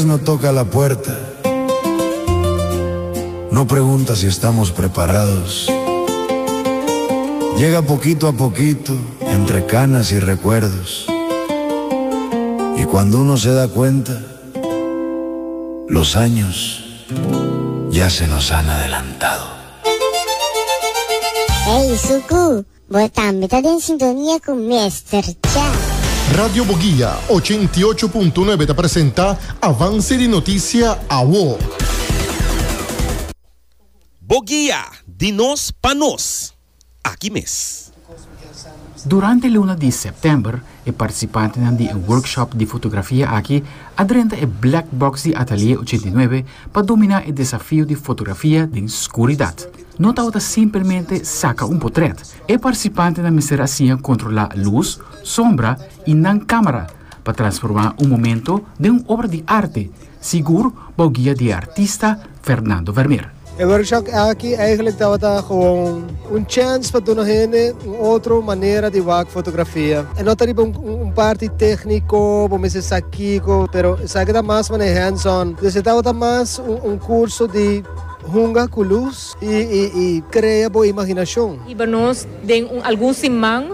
No toca la puerta. No pregunta si estamos preparados. Llega poquito a poquito, entre canas y recuerdos. Y cuando uno se da cuenta, los años ya se nos han adelantado. Hey, Suku, bo tambe ta den sintonia ku Mester Cha. Radio Boguia 88.9 ta presenta Avance di Noticia Awo. Boguia, di nos pa nos, aki mes. Durante luna di sèptèmber e partisipantenan di e workshop di fotografia aki a drenta e black box di Atelier 89 pa dominá e desafio di fotografia den skuridat. No tabata simpelmente saka un potrèt, e partisipantenan mester a siña kontrolá lus, sombra i nan kámara pa transformá un momento den un obra di arte, sigur bou guia di e artista Fernando Vermeer. E workshop aki eigenlijk tabata gewoon un chance pa duna hende un otro manera di wak fotografia. E no ta riba un parti tecnico, bo mester sa kico, pero esaki ta mas manera hands on. Dus e tabata mas un curso di hunga cu luz y crea bo imaginacion. Hiba nos den un algun siman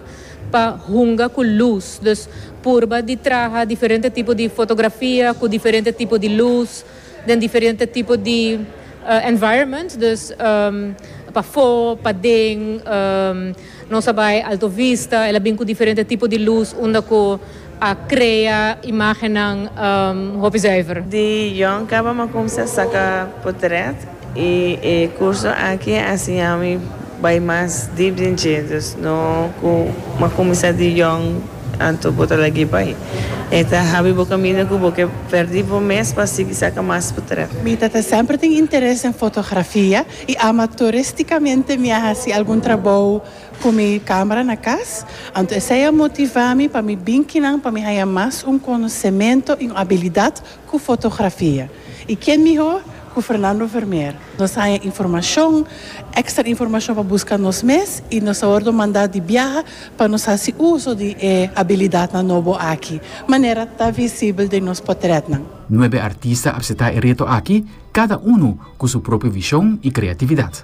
pa hunga cu luz. Dus purba di traha diferente tipo di fotografia cu diferente tipo di luz. Den diferente tipo di environment, dus pafó, paden, nos a bai Alto Vista, el a bin ku diferente tipo di lus unda ku a krea imágennan hopi zuiver. Di yòn kaba mi a kumsa saka potret i e kurso aki a siña mi bai mas dip den dje, dus no ku mi a kuminsá di yòn. Anto bo ta lag'é bai. E ta habri bo kaminda ku bo ke pèrdí bo mes pa sigui saka mas potrèt. Mi tata semper tin interes den fotografia i amatoristicamente mi a hasi algun trabou ku mi kamera na kas. Anto esei a motivá mi pa mi bin kinan pa mi haña mas un konosementu i un abilidat ku fotografia. I ken mihó ku Fernando Vermeer. Nos haña informashon, èkstra informashon pa buska nos mes i nos a wòrdu mandá di biaha pa nos hasi uso di e abilidatnan nobo aki, manera ta visibel den nos potrètnan. Nuebe artista a presentá e reto aki, kada unu ku su propio vishon i kreatividat.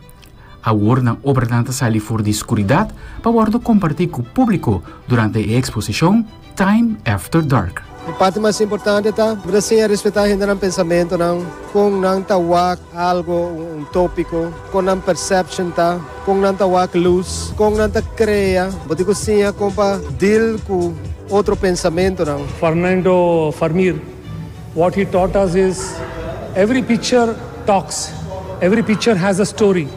Awor nan obranan ta sali for di skuridat pa wòrdu kompartí ku públiko durante e eksposishon Time After Dark. E parti mas importante ta bo ta siña respetá hendenan pensamentonan, kon nan ta wak algo, un tópiko, kon nan perception ta, kon nan ta wak lus, kon nan ta krea. Bo tin ku siña kon pa deal ku otro pensamentonan. Fernando Vermeer, what he taught us is every picture talks, every picture has a story.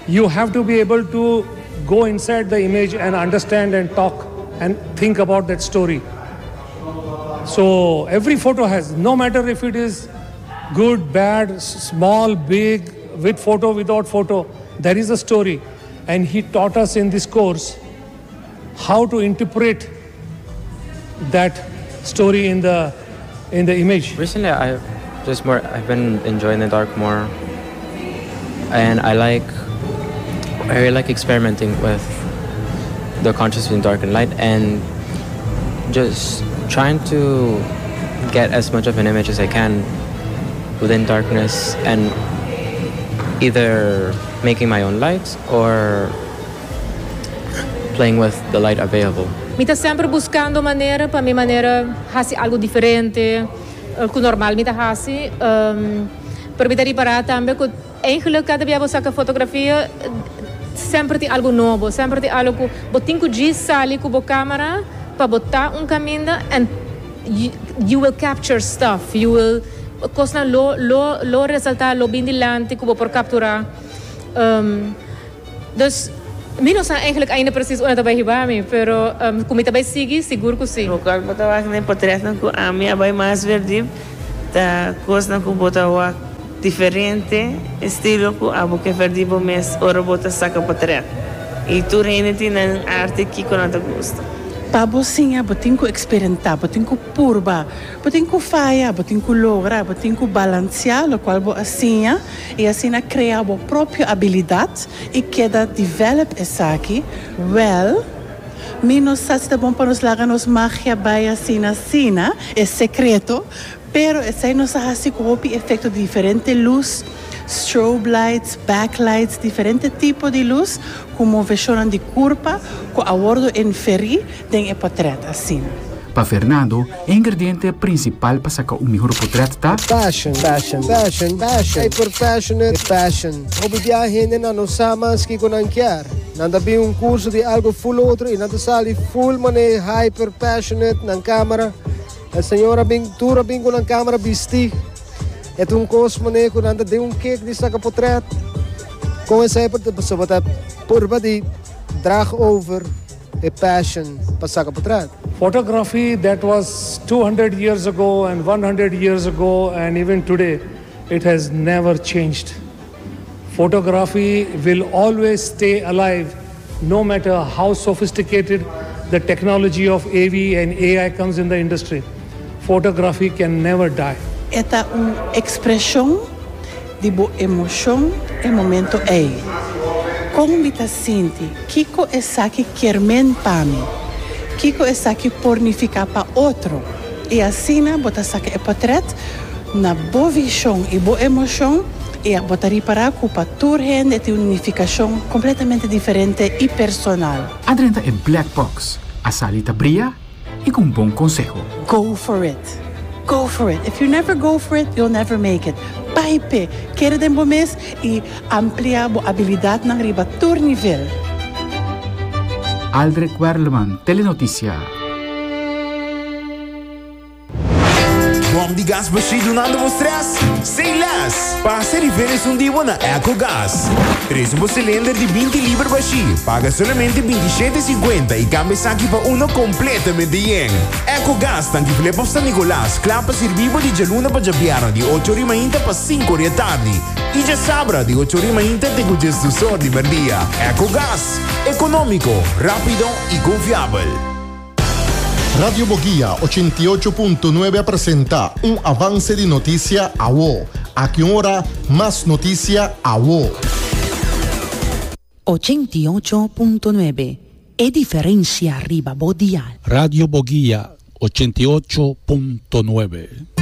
You have to be able to go inside the image and understand and talk and think about that story. So every photo has, no matter if it is good, bad, small, big, with photo, without photo, there is a story. And he taught us in this course how to interpret that story in the in the image. Recently, I just more I've been enjoying the dark more, and I like I really like experimenting with the contrast between dark and light, and just trying to get as much of an image as I can within darkness and either making my own lights or playing with the light available. Mi ta semper buscando manera pa mi manera haci algo diferente cu normal mi ta haci. Pero mi ta ripara tambe cu eigenlijk cada bia bo saca fotografia semper tin algo nobo, semper tin algo cu bo tin cu djis sali cu bo camera pa bo ta un caminda and you will capture stuff, you will cosnan lo lo lo resalta, lo bin dilanti cu bo por captura. Dus, mi no sa eigenlijk ainda precies unda ta bai hiba mi, pero ku mi ta bai sigui, sigur ku si. Lokual bo ta wak den potretnan ku ami a bai mas verdip ta kosnan ku bo ta wak diferente estilo ku abo ke verdi bo mes ora bo ta saka potret. I tur hende tin nan arte kiko nan ta gusta. Pa bo siña bo tin ku eksperimenta, bo tin ku purba, bo tin ku faya, bo tin ku logra, bo tin ku balansiá lokual bo a siña. I asina krea bo propio abilidat i keda develop esaki, wel, mi no sa si ta bon pa nos laga nos magia bai asina asina, e sekreto, Pero esei nos a hasi ku hopi efekto di diferente lus, strobe lights, backlights, diferente tipo di lus ku moveshonnan di kurpa ku a wordo inferí den e potrèt asina. Pa Fernando, e ingrediente principal pa saca un mihor potret ta. Passion, passion, passion, passion, hyper passionate, passion. Hopi bia hendenan no sa mas kiko nan kier. Nan ta bin un curso di algo full otro y nan ta sali full mane hyper passionate nan camera. E señor a bin, tur a bin cu nan camera bisti. E ta un cos mane cu nan ta den un kick di saca potret. Con esey por ta? Pasobra ta purba di draag over e passion pa saca potret. Photography that was 200 years ago and 100 years ago and even today, it has never changed. Photography will always stay alive no matter how sophisticated the technology of AV and AI comes in the industry. Photography can never die. E ta un ekspreshon di bo emoshon e momento ei. Kon mi ta sinti? Kiko esaki kier men pa mi? Kiko esaki por nifiká pa otro? I asina bo ta saka e potrèt na bo vishon i bo emoshon i bo ta ripará ku pa tur hende e tin un nifikashon kompletamente diferente i personal. A drenta e black box, a sali ta bria i ku un bon konseho. Go for it! Go for it! If you never go for it, you'll never make it. Bai p'e! Kere den bo mes i amplia bo abilidatnan riba tur nivel. Aldrich Werleman, Telenoticia. Bom di gas bashí dunando bo stress? Say less! Pasa riba esun di bo na Ecogas. Trese bo cilinder di 20 liber bashí, paga solamente 27,50 y cambia esaki pa uno completamente yen. Ecogas tanki Flip of San Nicolas, kla pa sirbi bo di djaluna pa djabièrnè di ocho ori mainta pa sinku ori e tardi y djasabra di ocho ori mainta te ku djesdus or di merdia. Ecogas, economico, rapido y confiabel. Radio Boguia 88.9 a presenta un avance di noticia awo. Aki un ora, mas noticia awo. 88.9 E diferencia riba bo dial. Radio Boguia 88.9.